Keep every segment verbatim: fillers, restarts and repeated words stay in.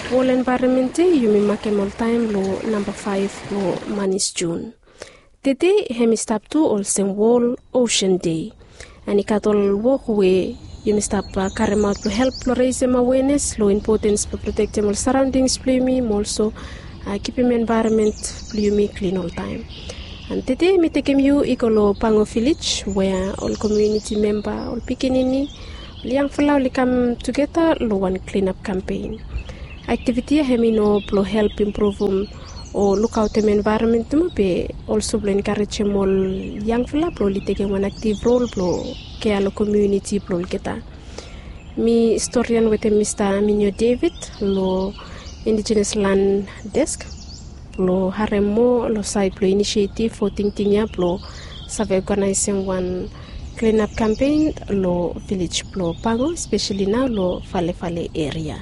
Wol envaeronmen de yumi makem oltaem long namba faef blong manis Jun. Tede hem i stap tu olsem Wol Osen De. An i gat ol wok we yumi stap karemaot blong help blong resem awenes long impotens blong protektem ol saraondings blong yumi mo olso kipim envaeronmen blong yumi klin oltaem. An tede mi tekem yu i go long Pango vilej we ol komuniti memba, ol pikinini, ol yangfala oli kam tugeta long wan klinap kampen. Aktiviti ya hem i no blong help impruvum o lukaotem envaeronmen nomo be olso blong enkarejem ol yangfala blong oli tekem wan aktiv rol blong kea long komuniti blong olgeta. Mi storian wetem Mista Minio David long Indigenous Land Desk blong harem moa long saed blong inisietif o tingting ya blong save oganaesem wan klinap kampen long vilej blong Pango, speseli nao long Falefale eria.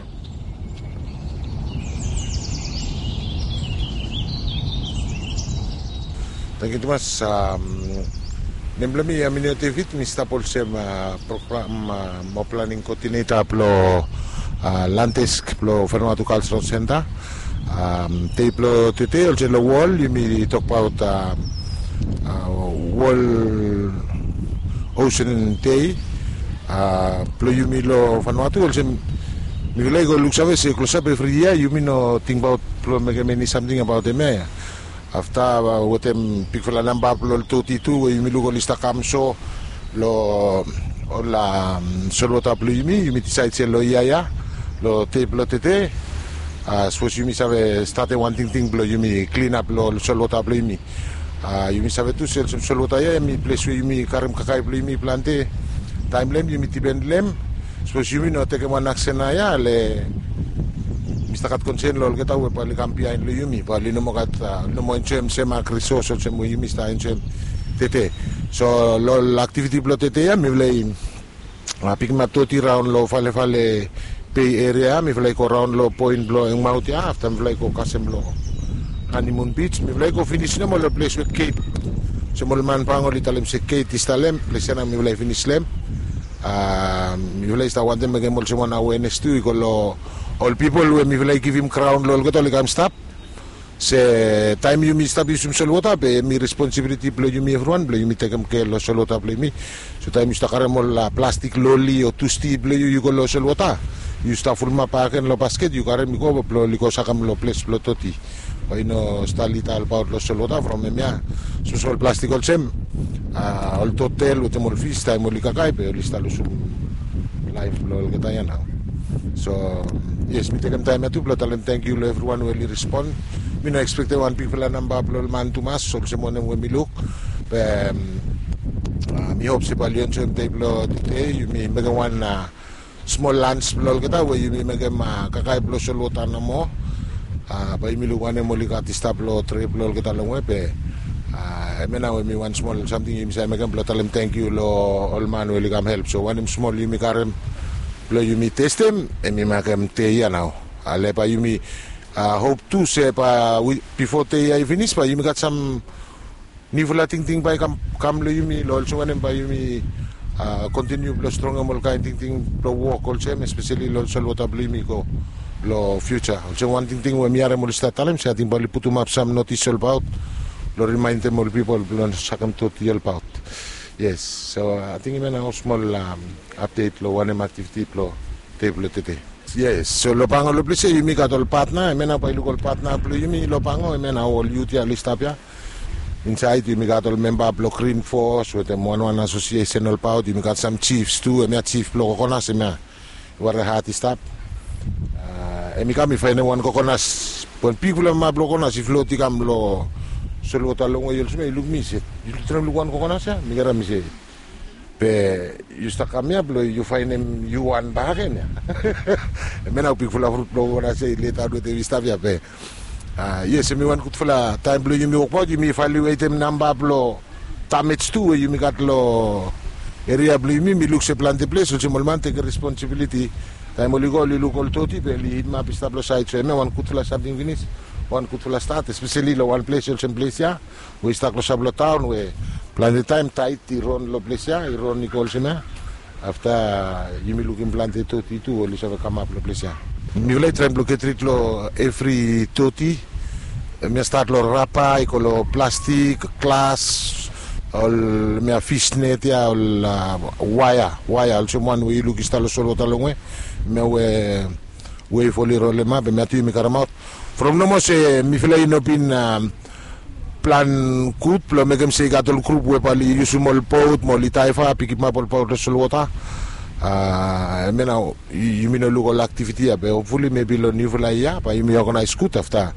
Tangkiu tumas. Nem blong mi Aminio David, mi stap olsem program mo planing koodineta blong Land Desk blong Vanuatu Cultural Center. Dei blong tede olsem long wol yumi tokbaot Wol Osen De blong yumi long Vanuatu, olsem mifala i go luksave se klosap evri yia yumi no tingbaot blong mekem eni samting abaot hemia. Afta wetem bigfala namba blong ol doti tu we yumi luk oli stap kam so long ol solwota blong yumi, yumi disaed se long yia ya, long dei blong tede, sapos yumi save statem wan tingting blong yumi klinap long ol solwota blong yumi. Yumi save tu se olsem solwota ya hem i ples we yumi karem kakae blong yumi plante. Taem long hem yumi dipen long hem. Sapos yumi no tekem wan aksen naoia le mi stap gat konsen long olgeta we bae oli kam biaen long yumi, bae oli no moa gat, no moa enjoem sem mak risos olsem we yumi stap enjoem tede. So long ol aktiviti blong tede ya mifala i pikimap doti raon long Falefale Bei eria ya, mifala i go raon long poen blong Engmaot ya, afta mifala i go kasem long Hanimun Bij, mifala i go finis nomo long ples we geit, olsem ol man Pango oli talem se geit i stap long hem, ples ya nao mifala i finis long hem. Mifala i stap wantem mekem olsem wan awenes tu i go long ol pipol we mifala i givim graon long olgeta oli kam stap. Se taem yumi stap yusum solwota be hem i responsibiliti blong yumi evriwan blong yumi tekem kea long solwota blong yumi. So taem yu stap karem ol plastik loli o tusti blong yu, yu go long solwota, yu stap fulumap bakegen long basket, yu karem i go blong oli go sakem long ples blong doti. Bae i no stap lida olbaot long solwota from hemia. Sapos ol plastik olsem, ol totel wetem ol fis taem oli kakae be oli stap lusum laef blong olgeta ya nao. So yes, mi tekem taem ya tu blong talem tangkiu long evriwan we oli respon. Mi no ekspektem wan bigfala namba blong ol man tumas olsem wanem we mi luk. Be mi hop se bae oli enjoem dei blong tede, yumi mekem wan smol lans blong olgeta we yumi mekem kakae blong solwota nomo. Bae yumi luk wanem oli gat i stap long tre blong olgeta longwe be hemia nao we mi wan smol samting yumi save mekem blong talem tangkiu long ol man we oli kam help. So wanem smol yumi karem blong yumi testem, hem i makem dei ya nao. Ale bae yumi hop tu se bae bifo dei ya i finis bae yumi gat sam niufala tingting bae i kam, kam long yumi long olsem wanem bae yumi kontiniu blong strongem ol kaen tingting blong wok olsem, espeseli long ol solwota blong yumi i go long fiuja. Olsem wan tingting we mi harem oli stap talem se ating bae oli putumap sam notis olbaot blong rimaendem ol pipol blong sakem doti olbaot. Yes, so ating hemia nao smol apdet long wanem aktiviti blong dei blong tede. Yes, so long Pango long ples ya yumi gat ol patna, hemia nao bae yu luk ol patna blong yumi long Pango, hemia nao ol yut ya oli stap ya. Insaed yumi gat ol memba blong Green Force wetem wanwan asosiesen olbaot, yumi gat sam jifs tu, hemia jif blong Kokonas hemia. Wara hat i stap. Hem i kam i faenem wan kokonas, wan bigfala map blong kokonas i flot i kam long solwota longwe olsem ya, i luk mi se, yu traem luk wan kokonas ya? Mi karem mi se, be yu stap kam ya blong yu faenem yu wan bakegen ya. Hemia nao bigfala frut blong kokonas ya i letaot wetem i stap ya be. Yes, hemi wan gudfala taem blong yumi wokbaot, yumi evaluetem namba blong damej tu we yumi gat long eria blong yumi. Mi luk se plante ples olsem ol man tekem responsibiliti, taem oli go oli luk ol doti be oli hidimap i stap long saed. So hemia wan gudfala samting finis, wan gudfala stat, espeseli long wan ples olsem ples ya we i stap klosap long taon we plante taem taed i ron long ples ya, i ron i go olsem ya. Afta yumi lukim plante doti tu oli save kamap long ples ya. Mifala i traem blong get rid long evri doti. Mia stat long rapa i go long plastik, glas, ol mia fisnet ya, ol waea waea olsem wan we yu luk i stap long solwota longwe. Mia we wef oli rolem ap em ya tu yumi karemaot. From nomo se mifala i no bin plan gud blong mekem se i gat ol grup we bae oli yusum ol bot mo oli daiva bikimap ol bot long solwota. Em ya nao yumi no luk ol aktiviti ya be hopfuli mebi long niufala yia bae yumi oganaes gud afta.